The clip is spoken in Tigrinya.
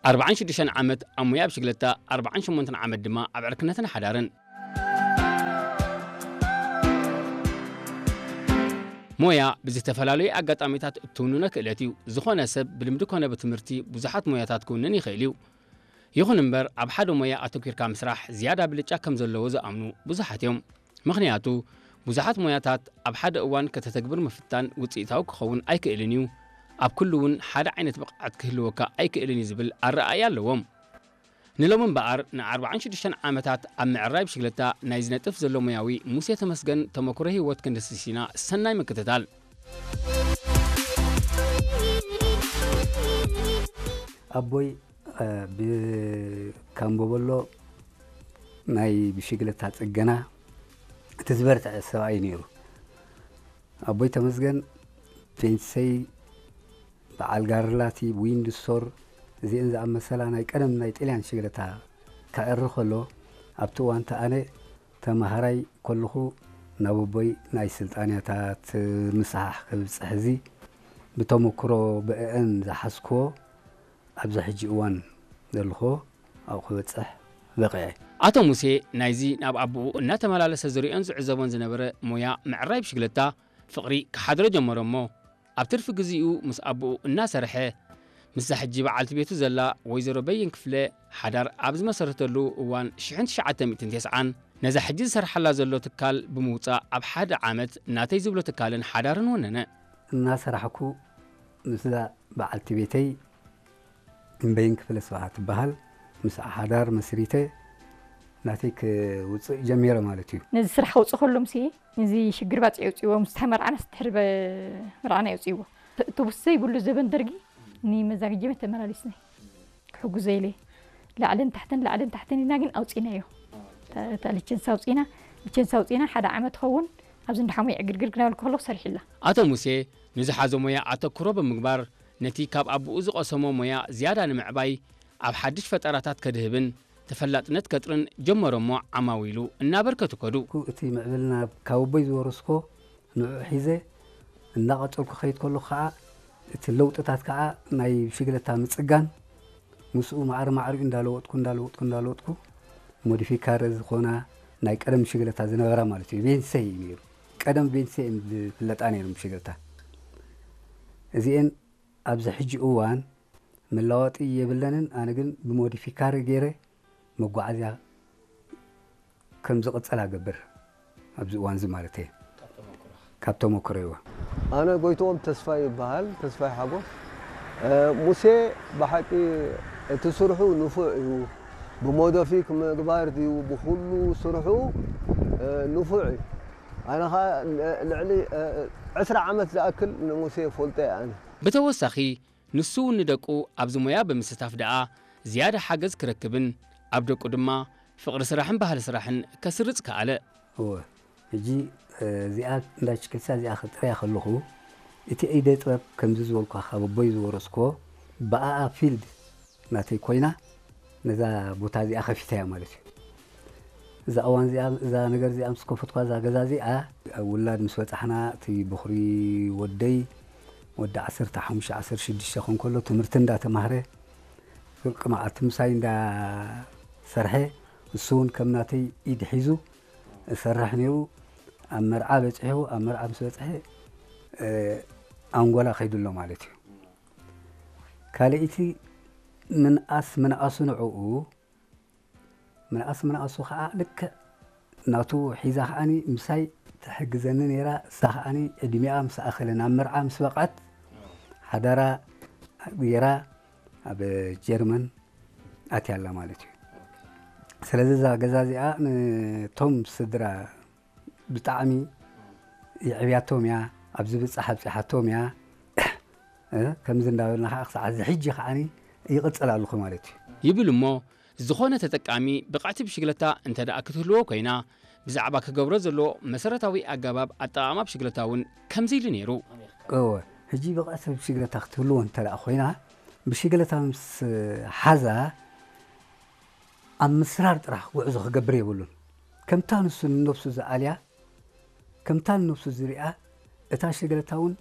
ኣርባዓን ሽዱሽተን ዓመት ኣብ ሞያ ብሽግለታ፣ ኣርባዓን ሸሞንተን ዓመት ድማ ኣብ ዕርክነትን ሓዳርን። ሞያ ብዝተፈላለዩ ኣጋጣሚታት እትውንኖ ክእለት እዩ። ዝኾነ ሰብ ብልምዲ ኮነ ብትምህርቲ ብዙሓት ሞያታት ክውንን ይኽእል እዩ። ይኹን እምበር፣ ኣብ ሓደ ሞያ ኣተኲርካ ምስራሕ ዝያዳ ብልጫ ከም ዘለዎ ዝኣምኑ ብዙሓት እዮም። ምኽንያቱ፣ ብዙሓት ሞያታት ኣብ ሓደ እዋን ከተተግብር ምፍታን ውጽኢታዊ ክኸውን ኣይክእልን እዩ። ኣብ ኩሉ እውን ሓደ ዓይነት ብቕዓት ክህልወካ ኣይክእልን እዩ ዝብል ኣረኣእያ ኣለዎም። ንሎሚ እምበኣር፣ ንኣርባዓን ሽዱሽተን ዓመታት ኣብ ምዕራይ ብሽግለታ ናይ ዝነጥፍ ዘሎ ሞያዊ ሙሴ ተመስገን ተመኩሮ ህይወት ክንድስስ ኢና። ሰናይ ምክትታል። ኣቦይ፣ እ፣ ብካምቦበሎ ናይ ብሽግለታ ጽገና እቲ ዝበርትዐ ሰብኣይ ነይሩ። ኣቦይ ተመስገን ፔንሰይ፣ በዓል ጋርላቲ፣ ዊንድሶር፣ እዚአን ዝኣመሰላ ናይ ቀደም ናይ ጥልያን ሽግለታ ከዕሪ ከሎ፣ ኣብቲ እዋን እቲ ኣነ ተማሃራይ ከለኹ ናብ ኣቦይ ናይ ስልጣንያታት ምስሓሕ ክብጽሕ እዚ ብተመክሮ ብእአን ዝሓዝክዎ ኣብዚ ሕጂ እዋን ዘልኹዎ ኣብኡ ክበጽሕ በቒዐ። ኣቶ ሙሴ ናይዚ ናብ ኣቦኡ እናተመላለሰ ዝሪኦን ዝዕዘቦን ዝነበረ ሞያ ምዕራይ ብሽግለታ ፍቕሪ ክሓድሮ ጀመረ እሞ፣ ኣብ ትርፊ ግዜኡ ምስ ኣቦኡ እናሰርሐ፣ ምስዛ ሕጂ በዓልቲ ቤቱ ዘላ ወይዘሮ በየን ክፍለ ሓዳር ኣብ ዝመሰረተሉ እዋን ሽሕን ትሽዓተ ሚእትን ተስዓን፣ ነዛ ሕጂ ዝሰርሓላ ዘሎ ትካል ብምውጻእ ኣብ ሓደ ዓመት ናተይ ዝብሎ ትካልን ሓዳርን ወነነ። እናሰራሕኩ ምስዛ በዓልቲ ቤተይ እምበይን ክፍለ ስብሓት ትበሃል ምስ ሓዳር መስሪተ ናተይ ክውፅእ ጀሚረ ማለት እዩ። ነዚ ስራሕ ከውፅእ ከሎ ምስ እዚ ሽግር ባፅዕ የውፅእዎ፣ ምስ ተመርዓናስ ድሕሪ በ-፣ መርዓና የውፅእዎ። ተ-፣ ተቡስ ዘይብሉ ዘበን ደርጊ ንመዛግጀመ ተመላሊስና ክሕጉዘ ኢለ ላዕልን ታሕትን ላዕልን ታሕትን ኢና ግን ኣውፂናዮ። ታ-፣ እታ ሊቸንስ ኣውፂና፣ ሊቸንስ ኣውፂና ሓደ ዓመት ኸውን ኣብዚ እንዳሓሙይ ዕግርግር ክናበልኩ ከለኹ ሰሪሕላ። ኣቶ ሙሴ ንዝሓዞ ሞያ ኣተኩሮ ብምግባር ነቲ ካብ ኣቦኡ ዝቐሰሞ ሞያ ዝያዳ ንምዕባይ ኣብ ሓድሽ ፈጠራታት ከድህብን ተፈላጥነት ከጥርን ጀመረ እሞ ዓማዊሉ እናበርከቱ ከዱ። እቲ ምዕብልና ካብ ኣቦይ ዝወረስኮ ንዑ ሒዘ እናቐጸልኩ ከይድ ከለኹ ከዓ እቲ ለውጥታት ከዓ ናይ ብሽግለታ ምጽጋን ምስኡ ማዕረ ማዕሪኡ እንዳለወጥኩ እንዳለወጥኩ እንዳለወጥኩ ሞዲፊካረ ዝኾና ናይ ቀደም ብሽግለታ ዝነበራ ማለት እዩ። ቤንሰይ እዩ ነይሩ። ቀደም ቤንሰይ እዮም ዝፍለጣ ነይሩ ብሽግለታ። እዚኤን ኣብዚ ሕጂ እዋን መለዋወጢ የብለንን። ኣነ ግን ብሞዲፊካሪ ገይረ መጓዓዝያ ከም ዝቕጽል ኣገብር ኣብዚ እዋን እዚ ማለት እየ። ካብ ተመክሮ ይዋ። ኣነ ጎይትኦም ተስፋይ ይበሃል፣ ተስፋይ ሓጎስ። እ፣ ሙሴ ብሓቂ እቲ ስርሑ ንፉዕ እዩ። ብሞዶፊክ ምግባር ድዩ ብኹሉ ስርሑ፣ እ፣ ንፉዕ እዩ። ኣነ ኸዓ ል-፣ ልዕሊ፣ እ፣ ዕስራ ዓመት ዝኣክል ንሙሴ ፈልጦ እየ ኣነ። ብተወሳኺ ንሱ እውን ንደቁ ኣብዚ ሞያ ብምስታፍ ደኣ ዝያዳ ሓገዝ ክረክብን ኣብ ደቁ ድማ ፍቕሪ ስራሕን ባህሊ ስራሕን ከስርጽ ከኣለ። እወ፣ ሕጂ፣ እ፣ እዚኣ እንዳ ችክልሳ እዚኣ ክጥርያ ከለኹ እቲ ኢደ ጥበብ ከምዚ ዝበልኳ ካብ ኣቦይ ዝወረስኮ ብኣኣ ፊልድ ናተይ ኮይና ነዛ ቦታ እዚኣ ከፊታ እያ ማለት እዩ። እዛ እዋን እዚኣ፣ እዛ ነገር እዚኣ ምስ ከፈትኳ እዛ ገዛ እዚኣ፣ ኣብ ውላድ ምስ በጻሕና እቲ ብኹሪ ወደይ ወዲ ዓሰርተ ሓሙሽተ ዓሰርተ ሽዱሽተ ኮን ከሎ ትምህርቲ እንዳተማህረ ፍርቂ መዓልቲ ምሳይ እንዳሰርሐ እሱ እውን ከም ናተይ ኢድ ሒዙ እሰርሕ ነይሩ። ኣብ መርዓ በጺሑ፣ ኣብ መርዓ ምስ በጽሐ፣ እ፣ ኣንጎላ ከይዱ ኣሎ ማለት እዩ። ካልኣይቲ ምንኣስ ምንኣሱ ንዕኡ፣ ምንኣስ ምንኣሱ ኸዓ ልክዕ ናቱ ሒዛ ኸዓኒ ምሳይ ትሕግዘኒ ነይራ። እሳ ኸዓኒ ዕድሚኣ ምስ ኣኸለ ናብ መርዓ ምስ በቕዐት ሓዳራ ገይራ ኣብ ጀርመን ኣትያ ኣላ ማለት እዩ። ስለዚ እዛ ገዛ እዚኣ ነቶም ስድራ ብጣዕሚ የዕብያቶም እያ፣ ኣብ ዝብጻሕ ኣብጺሓቶም እያ። እ፣ ከምዚ እንዳበልና ኸዓ ክሳዕ እዚ ሕጂ ኸዓኒ ይቕጽል ኣለኹ ማለት እዩ። ይብል እሞ፣ ዝኾነ ተጠቃሚ ብቕዕቲ ብሽግለታ እንተ ደኣ ክትህልዎ ኮይና፣ ብዛዕባ ክገብሮ ዘለዎ መሰረታዊ ኣገባብ ኣጠቓቕማ ብሽግለታ እውን ከምዚ ኢሉ ነይሩ። እወ፣ ሕጂ ብቕዕቲ ብሽግለታ ክትህልዎ እንተ ደኣ ኮይና፣ ብሽግለታ ምስ ሓዛ ኣብ ምስራር ጥራሕ ጉዕዞ ክገብር የብሉን። ከምታ ንሱ ንነብሱ ዝኣልያ፣ ከምታ ንነብሱ ዝሪኣ፣ እታ ሽግለታ እውን